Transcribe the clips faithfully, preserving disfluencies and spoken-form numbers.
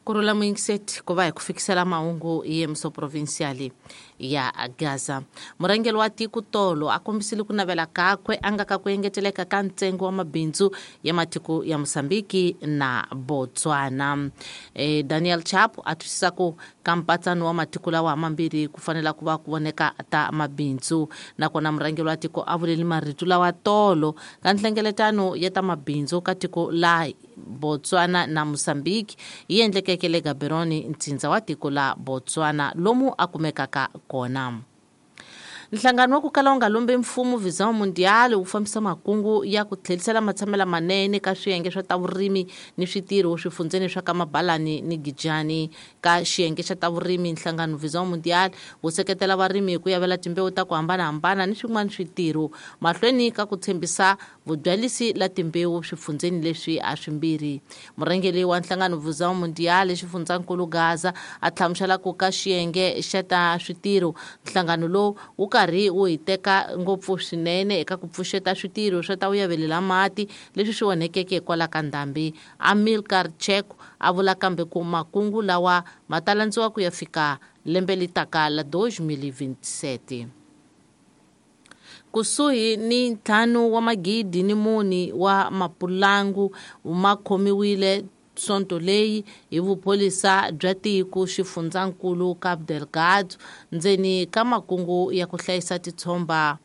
Kurhula muyingiseti ku va hi ku fikisela mahungu hi yemiso provincial ya Gaza. Murhangeri wa tiko tolo a kombisile ku navela kakwe a nga ka ku engeteleka ka ntsengo wa mabindzu ya matiko ya Mozambique na Botswana. E, Daniel Chapo a twisisa ku ka mpatsano wa matiko lawa mambirhi ku fanela ku va ku voneka ta mabindzu, nakona murhangeri wa tiko a vuleli marito lawa tolo ka nhlengeletano ya ta mabindzu ka tiko la Botswana na Mozambique yi endlekeke le Gaborone, ntsindza wa tiko la Botswana lomu a kumekaka kona. Nhlangano wa ku kala wu nga lombi mfumo Visão Mundial wu fambisa makungu ya ku tlherisela matshamela manene ka swiyenge swa ta vurimi ni switirho swifundzeni swa ka Mabalani ni Gijani. Ka xiyenge xa ta vurimi, nhlangano Visão Mundial wu seketela varimi hi ku yavela timbewu ta ku hambanahambana ni swin'wana switirho mahlweni ka ku tshembisa vubyalisi la timbewu swifundzeni leswi a swimbirhi. Murhangeri wa nhlangano Visão Mundial xifundzankulu Gaza a hlamusela ku ka xiyenge xa ta switirho nhlangano lowu wu karhi wu hiteka ngopfu swinene eka ku pfuxeta switirho swa ta u yavelela mati leswi swi onhekeke hikwalaho ka ndhambi. Amilcar Cheko a vula kambe ku makungu lawa ma ta landziwa ku ya fika lembe li taka la dois mil e vinte e sete. Kusuhi ni ntlhanu wa magidi ni mune wa mapulangu ma khomiwile sonto leyi hi vupholisa bya tiko xifundzankulu Cabo Delgado ndzeni ka makungu ya ku hlayisa titshomba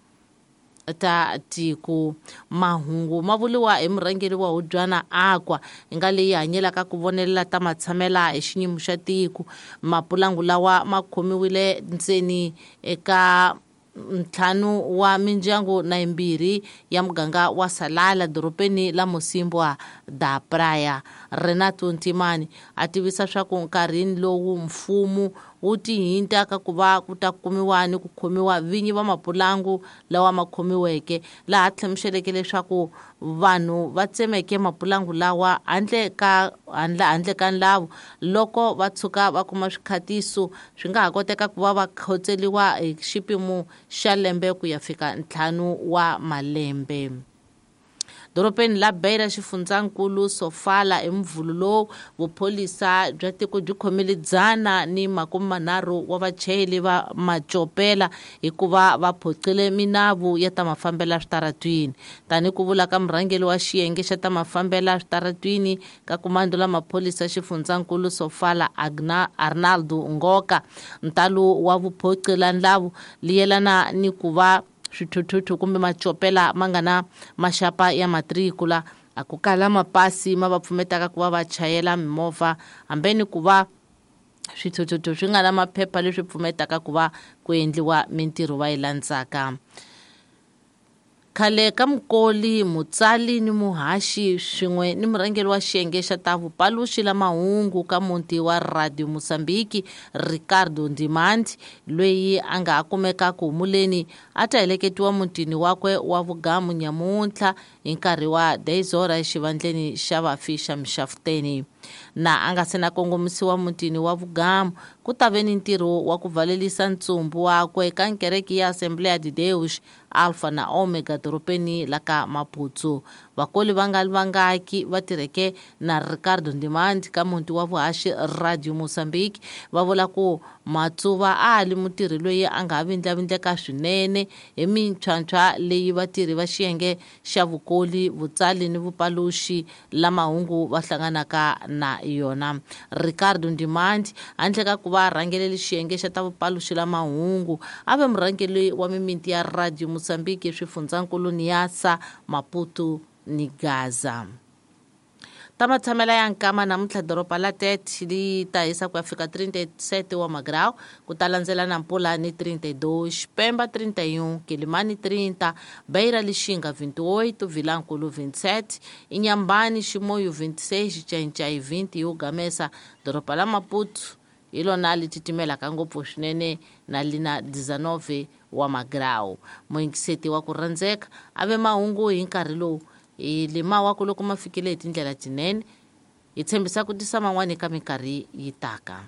ta tiko. Mahungu ma vuriwa hi murhangeri wa Hubyana Aqua hi nga leyi hanyelaka ku vonelela ta matshamela hi xinyimo xa tiko. Mapulangu lawa ma khomiwile ndzeni eka ntlhanu wa mindyangu na yimbirhi ya muganga wa Salala dorobeni la Mocímboa da Praia. Renato Ntimani a tivisa swa ku nkarhini lowu mfumo wu tihinta ka ku va ku ta kumiwa ni ku khomiwa vinyi va mapulangu lawa ma khomiweke, laha hlamuseleke leswaku vanhu va tsemeke mapulangu lawa handle ka handle handle ka nlavu loko va tshuka va kuma swikhatiso swi nga ha koteka ku va va khotseliwa hi xipimo xa lembe ku ya fika ntlhanu wa malembe. Dorobeni la Beira xifundzankulu Sofala hi Mvhulu lowu vupholisa bya tiko byi khomile dzana ni makume manharhu wa vachayeri va macopela hikuva va phoqile minavu ya ta mafambela switaratwini. Tani ku vula ka murhangeri wa xiyenge xa ta mafambela switaratwini ka kumando la mapholisa xifundzankulu Sofala Agna Arnaldo Ngoka, ntalo wa vuphoqila ndlavu li yelana ni ku va swithuthuthu kumbe macopela ma nga na maxapa ya matrikula a ku kala mapasi ma va pfumetaka ku va va chayela mimovha hambeni ku va swithuthuthu swi nga na maphepha leswi pfumetaka ku va ku endliwa mintirho va yi landzaka. Khale ka mukoli, mutsali ni muhaxi swin'we ni murhangeri wa xiyenge xa ta vupaluxi la mahungu ka muti wa Radio Mozambique Ricardo Ndimandi loyi a nga ha kumeka ku humuleni a ta heleketiwa mutini wakwe wa vugamu nyamuntlha hi nkarhi wa dez horas exivandleni xa vafi xa Mixafuteni. Na a nga se na kongomisiwa mutini wa vugamu ku ta ve ni ntirho wa ku valelisa ntsumbu wakwe ka nkereke ya Assembleia de Deus Alpha na Omega dorobeni la ka Maputo. Vakoli va nga vangaki va tirheke na Ricardo Ndimandi ka muti wa vuhaxi Radio Mozambique va vula ku Matsuva a li mutirhi loyi a nga ha vindlavindleka swinene hi mintlhontlho leyi vatirhi va xiyenge xa vukoli, vutsali ni vupaluxi la mahungu va hlanganaka na yona. Ricardo Ndimandi handle ka ku va rhangeleli xiyenge xa ta vupaluxi la mahungu a ve murhangeri wa mimiti ya Radio Mozambique swifundzankulu Niassa, Maputo ni Gaza. Ta matshamela ya nkama namuntlha doroba la Tete li ta hisa ku ya fika trinta e sete wa magrau, ku ta landzela na Nampula ni trinta e dois, Pemba trinta e um, Quelimane trinta, Beira Lixinga vinte e oito, Vilanculo vinte e sete, Inhambane, Chimoio vinte e seis, Xai-Xai vinte e Ugamesa doroba la Maputo hi lona li titimelaka ngopfu swinene na lina dezenove wa magrau. Muyingiseti wa ku rhandzeka a ve mahungu hi nkarhi lowu hi lima wa ku loko ma fikile hi tindlela tinene hi tshembisa ku tisa man'wani eka minkarhi yi taka.